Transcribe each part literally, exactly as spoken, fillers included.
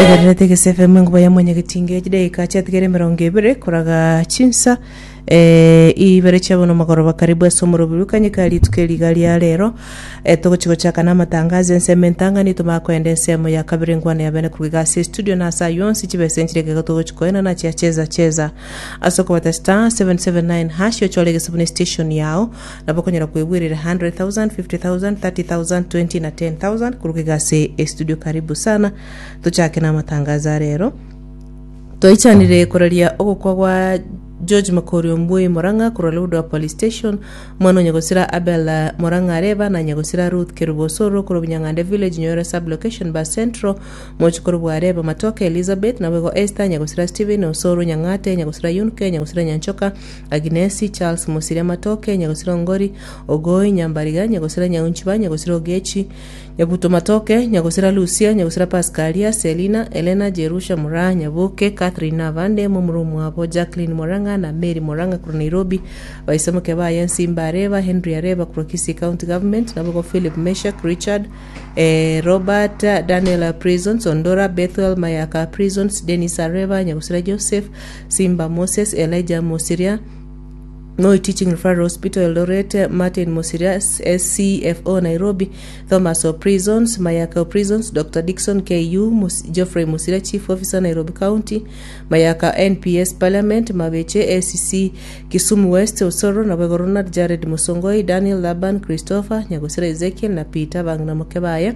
Otegererete Egese F M, enguba ya mwanyagetinge. Chidaika chiatigere emerongo ebere koraga chinsa eh, ibere chia bono magoroba. Karibu ase omorobiri kanyeka rituko eriga ria rero. eh, togochi gochaka na amatangazo ensemo entang'ani, tomara koenda ensemo ya kabere, engwana ya bene koruga ase studio na ase aywo onsi chibesa enchire ekego togochi koena na chia cheza cheza ase okobata star seven seven nine hash, ochore egesabuni station yao, nabo okonyora kwebwerera one hundred thousand, fifty thousand, thirty thousand, twenty na ten thousand koruga ase estudio. Karibu sana, tochake na amatangazo arero. Twaichanire koraria ogokwa gwa George Makori Ombui Morang'a korwa Lodwar Police Station, omwana o Nyagosira Abel eh, Morang'a Areba na Nyagosira Ruth Kerubo Osoro korwa Bunyang'ande Village, Nyoera Sub-Location, Bas Central, mochokoro bwa Areba Matoke Elizabeth, naboigo Esther, Nyagosira Stephen Osoro Nyang'ate, Nyagosira Yunke, Nyagosira Nyanchoka Agnesi, Charles Musiria Matoke, Nyagosira Ongori Ogoi Nyambariga, Nyagosira Nyaunchiba, Nyagosira Ogechi Nyabuto Matoke, Nyagosira Lucia, Nyagosira Pascalia, Selina, Elena, Jerusha Mura Nyabuke, Catherine Navande, momuru mwabo Jacqueline Moranga na Mary Moranga korwa Nairobi, baisemoke baye Nsimba Areba, Henry Areba korwa Kisii County Government, nabogo Philip Meshak, Richard eh, Robert, Daniel Prisons Ondora, Bethuel Mayaka Prisons, Dennis Areba, Nyagosira Joseph Simba, Moses Elijah Mosiria, Moi Teaching Referral Hospital Eldoret, Martin Mosiria, S C F O Nairobi, Thomas O Prisons, Mayaka Prisons, Doctor Dixon K U, Mus Geoffrey Musiria, Chief Officer Nairobi County, Mayaka N P S Parliament, Mabeche A C C Kisumu West, Osoro, Nabego Ronald Jared Musongoi, Daniel Laban, Christopher, Nyagosira Ezekiel na Peter Bangna Mokebaya.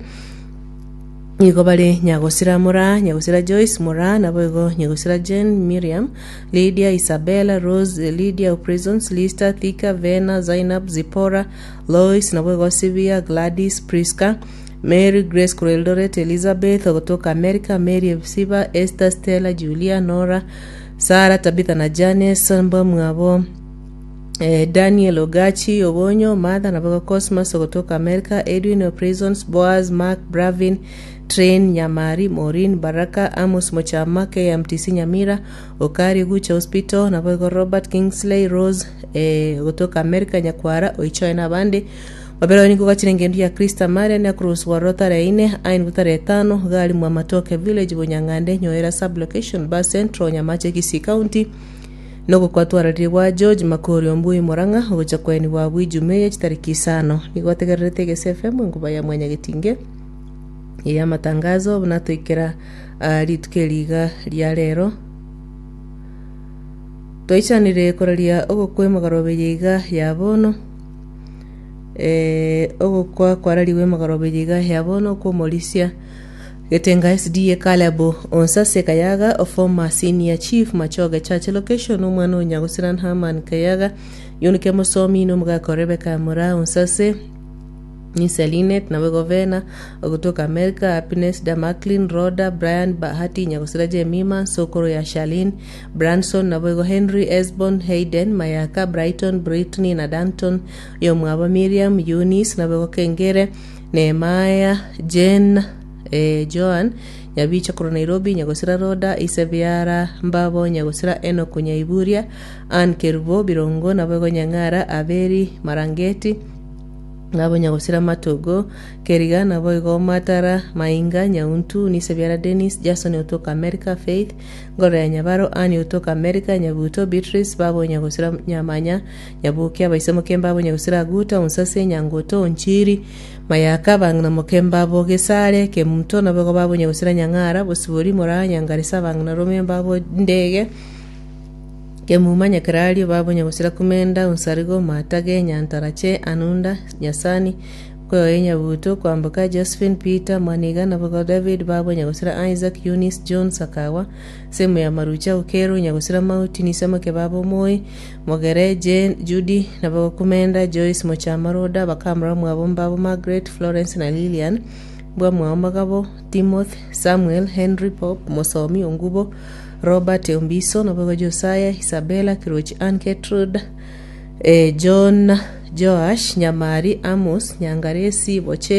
Nigo bare Nyagosira Mora, Nyagosira Joyce Mora, naboigo Nyagosira Jane, Miriam, Lydia, Isabella, Rose, Lydia Prisons, Lister Thika, Vena, Zainab, Zipora, Lois, naboigo Sivia, Gladys, Priska, Mary Grace korwa Eldoret, Elizabeth ogotoka America, Mary Evsiba, Esther, Stella, Julia, Nora, Sara, Tabitha na Janes mbamwabo eh, Daniel Ogachi Obonyo, Martha, naboigo Cosmas ogotoka America, Edwin o Prisons, Boaz, Mark, Bravin, Train, Nyamari, Maureen, Baraka, Amos Mochama, K M T C Nyamira, Okari Gucha Hospital, naboigo Robert Kingsley, Rose eh, gotoka America, Nyakwara Oichoe nabande babere. Nigo gachire engendu ya Krista Marian akuruswa rotare ine ain butare etano gari mwa Matoke Village, Bunyang'ande, Nyoera Sub-Location, Bas Central, Nyamache, Kisii County. Nogokwa gwa George Makori Ombui Murang'a ogocha kweni bwa bwijume chitariki isano. Nigo ategererete Egese F M, enguba ya mwanyagetinge ya matangazo. Buna toikera uh, rituko eriga ria rero, twaichanire koraria ogokwa emagarobe iga ya bono eh, ogokwa kwarariwe emagarobe iga ya bono kwomorisia Getenga S D A Caleb Onsase Kayaga, a former senior chief Machoge Church location, omwana o Nyagosiran Haman Kayaga, Yunike Mosomi, nomogaka Rebecca Mura Onsase, Nisa Linet nawe Govena kutoka America, Happiness Damaklin, Roda, Brian, Bahati, Nyagosira Jemima, Sokoro ya Shalin Branson, naboigo Henry Esbon, Hayden Mayaka, Brighton, Britney na Danton yomwabo Miriam, Eunice, naboigo Kengere, Nehemiah, Jane, eh, Joan Nyabicha korwa Nairobi, Nyagosira Roda, Isebiara Mbabo, Nyagosira Enoku Nyaiburia, Ann Kerubo Birongo, naboigo Nyang'ara Aberi Marangeti, nabo Nyagosira Matogo Keriga, naboigo Matara Mainga Nyauntu, Nisebiara Dennis Jason otoka America, Faith Ngoro ya Nyabaro, Ani otoka America, Nyabuto Beatrice, babo Nyagosira Nyamanya Nyabuke, abaise Mokemba, Nyagosira Aguta Onsase, Nyangoto Onchiri Mayaka, bang'ina Mokemba Gesare Kemunto, naboigo babo Nyagosira Nyang'ara Bosibori Mora Nyangarisa, bang'ina Rome babo Ndege Kemuma Nyakerario, babo Nyagosira Kumenda Onsarigo Matage Nyantarache Anunda Nyasani Kweoye Nyabuto Kwamboka Josephine Peter Mwaniga, nabogo David, babo Nyagosira Isaac, Eunice, John Sakawa semu ya Marucha Ukero, Nyagosira Mauti Nisamoke, babo Moi Mogere, Jane, Judy, nabogo Kumenda Joyce Mochama Roda, bakamura mwabo mbabo Margaret, Florence na Lilian bwa mwao Magabo, Timothy, Samuel, Henry, Pop Mosomi, Ongubo, Robert Ombiso, nabogo Josiah, Isabella Kirochi, Ann Gertrude, eh, John, Joash Nyamari, Amos Nyangaresi Boche.